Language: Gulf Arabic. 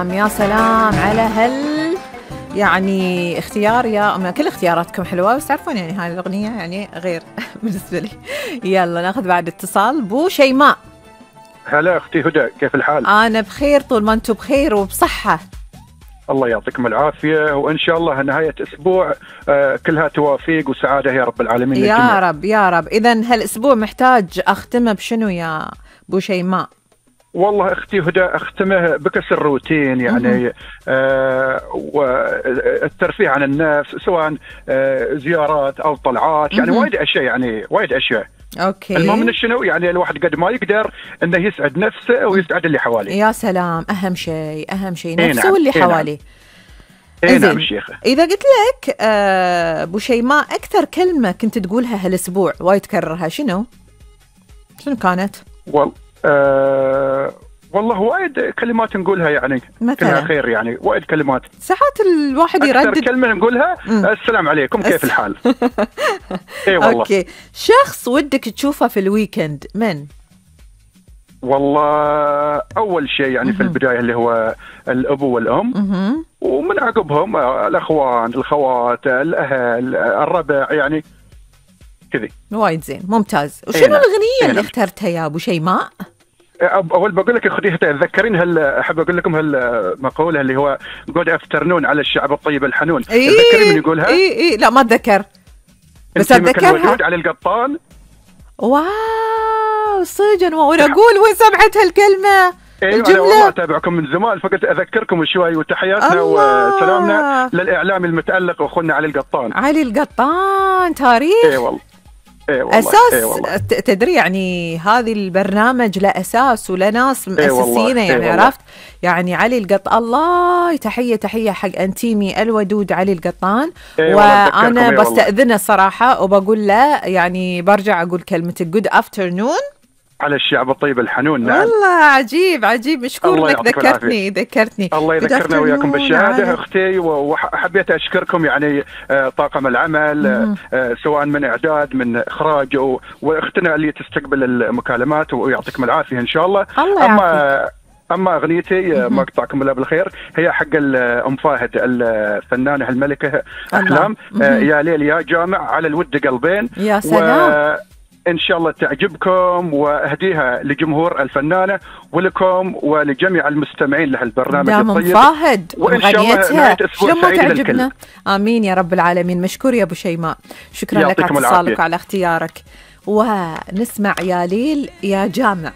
يا سلام على يعني اختيار يا أم. كل اختياراتكم حلوة، بس تعرفون يعني هاي الأغنية يعني غير بالنسبة لي. يلا ناخذ بعد اتصال. بو شيماء. هلا أختي هدى، كيف الحال؟ أنا بخير طول ما أنتم بخير وبصحة. الله يعطيكم العافية، وإن شاء الله نهاية أسبوع كلها توافيق وسعادة يا رب العالمين. يا رب يا رب. إذن هالأسبوع محتاج أختمه بشنو يا بو شيماء؟ والله أختي هدى أختمه بكسر الروتين، يعني والترفيه عن النفس، سواء زيارات أو طلعات، يعني وايد أشياء، يعني وايد أشياء. أوكي. المهم من شنو، يعني الواحد قد ما يقدر إنه يسعد نفسه ويسعد اللي حواليه. يا سلام، أهم شيء نفسه نعم. واللي حواليه. نعم شيخة. إذا قلت لك بو شيماء أكثر كلمة كنت تقولها هالأسبوع وايد تكررها شنو كانت؟ والله وايد كلمات نقولها، يعني كلها خير، يعني وايد كلمات. ساعات الواحد يردد. أكثر كلمة نقولها السلام عليكم، كيف الحال؟ اي والله. اوكي. شخص ودك تشوفه في الويكند من؟ والله اول شيء يعني في البداية اللي هو الأب والأم، ومن عقبهم الأخوان، الخوات، الأهل، الربع، يعني كذي. وايد زين، ممتاز. وشنو الأغنية اللي اخترتها يا أبو شيماء؟ أول بقول لك أختي تذكرين أحب أقول لكم هالمقولة اللي هو good afternoon على الشعب الطيب الحنون. تذكرين من يقولها؟ إيه لا ما أتذكر، بس أتذكرها. علي القطان. واو صدق، وأنا أقول وين سمعت هالكلمة؟ الجملة. أنا والله أتابعكم من زمان، فقلت أذكركم شوي، وتحياتنا وسلامنا للإعلام المتألق أخونا علي القطان. علي القطان تاريخ. إيه والله. أساس. تدري يعني هذه البرنامج له أساس وله ناس مؤسسينه، يعني عرفت يعني علي القطان. الله، تحية حق أنتيمي الودود علي القطان. وأنا بستأذنه صراحة وبقول له يعني برجع أقول كلمة جود افترنون على الشعب الطيب الحنون. نعم والله عجيب مشكور انك ذكرتني. الله يذكرنا وياكم بالشهاده اختي، وحبيت اشكركم يعني طاقم العمل، سواء من اعداد من اخراج، واختنا اللي تستقبل المكالمات، ويعطيكم العافيه ان شاء الله. اما اغنيتي ما اقطعكم الله بالخير، هي حق ام فاهد الفنانه الملكه احلام. يا ليل يا جامع على الود قلبين. يا سلام. إن شاء الله تعجبكم، وأهديها لجمهور الفنانة ولكم ولجميع المستمعين لهالبرنامج الطيب. فاهد وغنيتها شلون ما تعجبنا. آمين يا رب العالمين. مشكور يا أبو شيماء، شكرا لك على اتصالك وعلى اختيارك. ونسمع يا ليل يا جامع.